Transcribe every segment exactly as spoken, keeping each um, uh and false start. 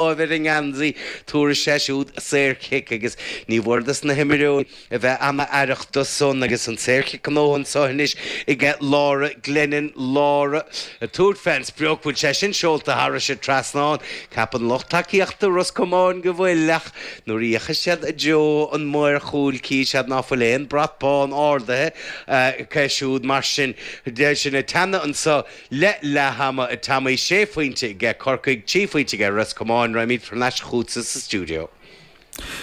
Láimh ar an ngeansaí, tabharfaidh sé siúd saorchic agus ní mhór dos na himreoirí a bheith ana-aireach do san agus an saorchic gnóthaithe anso anois aige Laura Glennon. Laura ag tabhairt fén sprioc, bhfuil sé sin seolta thairis an trasnán? Ceapann lucht tacaíochta Ros Comáin go bhfuil ach nuair a fhéachas siad i dtreo an maor chúil cífidh siad ná fuil aon brat bán ardaithe acu siúd mar sin de. Sinn ag teannadh anso le leath ama a Tommy, sé phointe aige Corcaigh, trí phointe aige Ros Comáin. Raghaimid thar n-ais chugatsa sa stiúideo.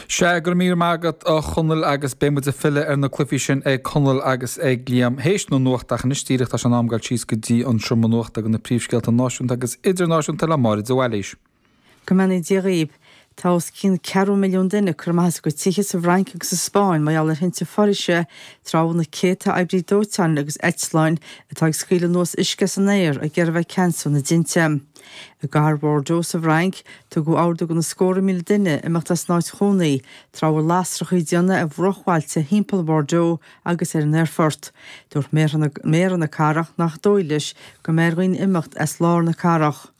Sea, go raibh míle maith agat a Chonaill agus beidh muid ag filleadh ar na cluichí sin ag Conall agus ag Liam théis na nuachta ach anois díreach tá sé in am dul síos go dtí an seomra nuachta do na príomhscéalta náisiúnta agus idirnáisiúnta le Máire de Bhailís. Go mbeannaí Dia dhaoibh. Tá os cionn ceathrú milliún duine curtha amach as a gcuid tithe sa bhFrainc agus sa Spáinn mar gheall ar thinte foraoise, tráth a bhfuil na céadta oibrí dóiteáin agus eitleáin atá ag scaoileadh anuas uisce as an aer ag iarraidh a bheith ag ceansú na dtinte. I gcathair Bhordeaux sa bhFrainc, tugadh ordú do na scórtha míle duine imeacht as an áit chónaí tráth a bhfuil lasracha ag déanamh ar bhruachbhailte thimpeall Bhordeaux agus ar an aerfort. Dúirt méara na cathrach nach dóigh leis go mbeidh ar dhaoine imeacht as lár na cathrach.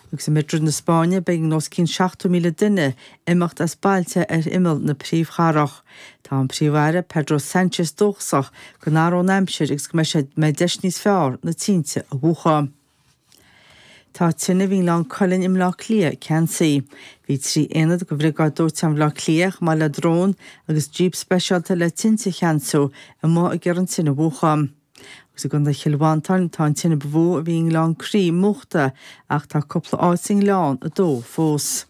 Agus i Madrid na Spáinne b'éigean os cionn seachtó míle duine imeacht as bailte ar imeall na príomhchathrach. Tá an Príomh-Aire Pedro Sánchez dóchasach go n-athróidh an aimsir agus go mbeidh sé mbeidh deis níos fearr na tinte a mhúchadh. Tá tine a bhí i nGleann Cuilinn i mBleá Cliath ceansaithe. Bhí trí aonad de Bhriogáid Dóiteáin Bhaile Átha Cliath chomh maith le drón agus jíp speisialta le tinte a cheansú amuigh ag iarraidh an tine a mhúchadh. Agus i gContae Chill Mhantáin tá an tine ba mhó a bhí i nGleann Crí múchta ach tá cúpla áit sa ngleann ag dó fós.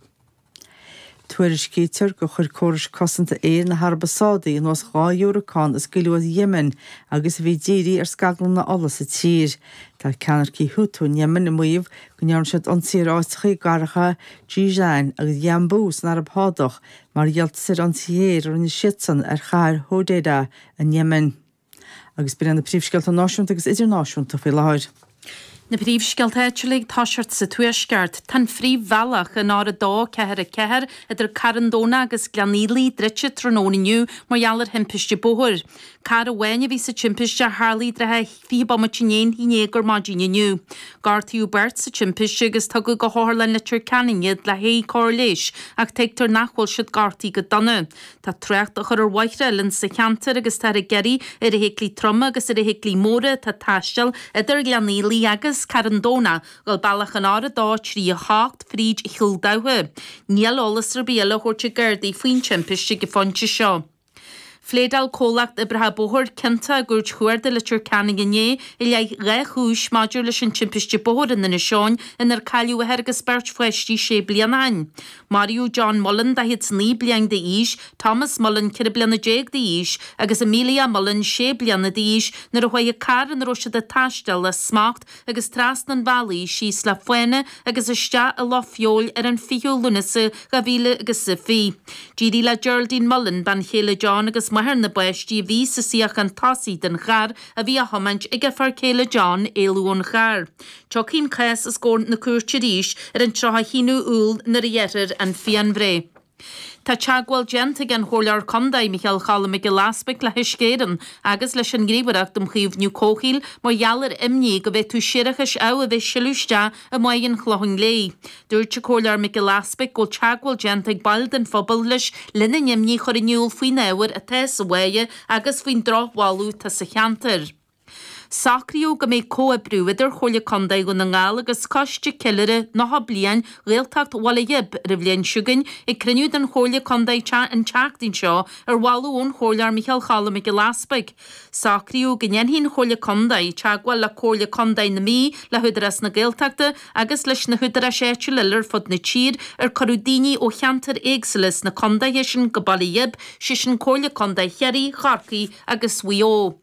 Tuairiscítear gur chuir córais cosanta aeir na hAraibe Sádaí anuas dhá dhiúracán a scaoileadh as Yemen agus a bhí dírithe ar scaglanna ola sa tír. Tá ceannaircigh Houthi in Yemen ag maíomh go ndearna siad ionsaí ar áiteacha i gcathracha Jizan agus Yanbu san Araib Shádach mar dhíoltas ar ionsaithe aeir a rinne siadsan ar chathair Hodeidah in Yemen. Agus b'in na príomhscéalta náisiúnta agus idirnáisiúnta faoi láthair. Na príomhscéalta áitiúla ag toiseacht sa Tuaisceart, tá an phríomhbhealach an R a dó ceathair a ceathair idir Carn Domhnach agus Gleann Fhaola druidte tráthnóna inniu mar gheall ar thimpiste bóthair. Carr amháin a bhí sa timpiste a tharla i dtrátha fiche bomaite i ndiaidh a haon déag ar maidin inniu. Gortaíodh beirt sa timpiste agus tugadh go hOtharlann Leitir Ceanainn iad le haghaidh cóir leighis ach tuigtear nach bhfuil siad gortaithe go dona. Tá trácht á chur ar bhóithre eile sa cheantar agus táthar ag iarraidh ar fheithiclí troma agus ar fheithiclí móra atá ag taisteal idir Gleann Fhaola agus Carn Domhnach dul bealach an R a dó trí a hocht fríd Chill Damhcha. Níl eolas ar bith eile á thabhairt ag Gardaí faoin timpiste ag an phointe seo. Phléadáil comhlacht oibreacha bóthair ciontach i gCúirt Chuarda Leitir Ceanainn inné i leith dhá chúis maidir leis an timpiste bóthair in Inis Eoghain inar cailleadh athair agus beirt pháistí sé bliana ó shin. Maraíodh John Mullen, daichead is naoi bliain d'aois, Thomas Mullen, ceithre bliana déag d'aois, agus Amelia Mullen, sé bliana d'aois, nuair a chuaigh an carr ina raibh siad ag taisteal as smacht agus trasna an bhealaigh síos le fána agus isteach i loch feoil ar an fichiú Lúnasa dhá mhíle agus a fiche. D'éirigh le Geraldine Mullen, bean chéile John agus máthair na bpáistí a bhí sa suíochán tosaigh den charr a bhí á thiomáint ag a fear céile John, éalú ón charr. Tiocfaidh an cás os comhair na cúirte arís ar an tríocha a haon Iúil nuair a ghearrfar an phianbhreith. Tá teagmháil déanta ag an Chomhairleoir Contae, Micheál Cholm Mac Giolla Easbuig le hUisce Éireann agus leis an nGníomhaireacht um Chaomhnú Comhshaoil mar gheall ar imní go bhféadfadh séarachais amh a bheith ag sileadh isteach i mBáigh an Chlocháin Léith. Dúirt an Comhairleoir Mac Giolla Easbuig go bhfuil teagmháil déanta ag baill den phobal leis lena n-imní a chur in iúl faoin ábhar atá sa bháighe agus faoin drochbholadh atá sa cheantar. Socraíodh go mbeidh comhoibriú idir Chomhairle Contae Dhún na nGall agus Coiste Ceiliúrtha nócha Bliain Ghaeltacht Bhaile Ghib ar an bhliain seo chugainn ag cruinniú den Chomhairle Contae an tseachtain seo ar mholadh ón Chomhairleoir Micheál Cholm Mac Giolla Easbuig. Socraíodh go ndéanfaidh an Chomhairle Contae teagmháil le Comhairle Contae na Mí, le hÚdarás na Gaeltachta agus leis na húdaráis áitiúla eile ar fud na tír ar cuireadh daoine ó cheantair éagsúla sna contaetha sin go Baile Ghib, sé sin Comhairle Contae Chiarraí, Chorcaí agus Mhaigh Eo.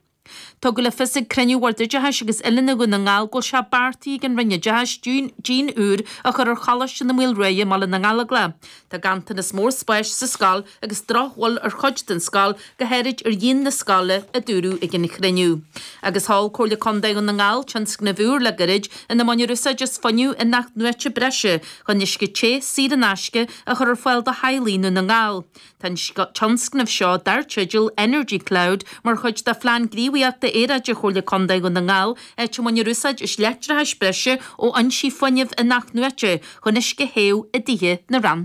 Tugadh le fios ag cruinniú Bhord Oideachais agus Oiliúna Dhún na nGall go bhfuil sé beartaithe ag an Roinn Oideachais díon úr a chur ar Choláiste na Maoilruaidhe i mBaile na nGallóglach. Tá ganntanas mór spáis sa scoil agus drochbhail ar chuid den scoil, go háirid ar dhíon na scoile, a dúradh ag an chruinniú. Agus sheol Comhairle Contae Dhún na nGall tionscnamh úr le gairid ina mbainfear úsáid as fuinneamh in-athnuaite breise chun uisce te saor in aisce a chur ar fáil do theaghlaigh i nDún na nGall. Tá an tionscnamh seo dar teideal Energy Cloud mar chuid de Phlean Gníomhaíochta Bainistíochta Aeráide Chomhairle Contae Dhún na nGall, áit a mbainfear úsáid as leictreachas breise ó fhoinsí fuinnimh in-athnuaite chun uisce a théamh i dtithe na rannpháirtithe.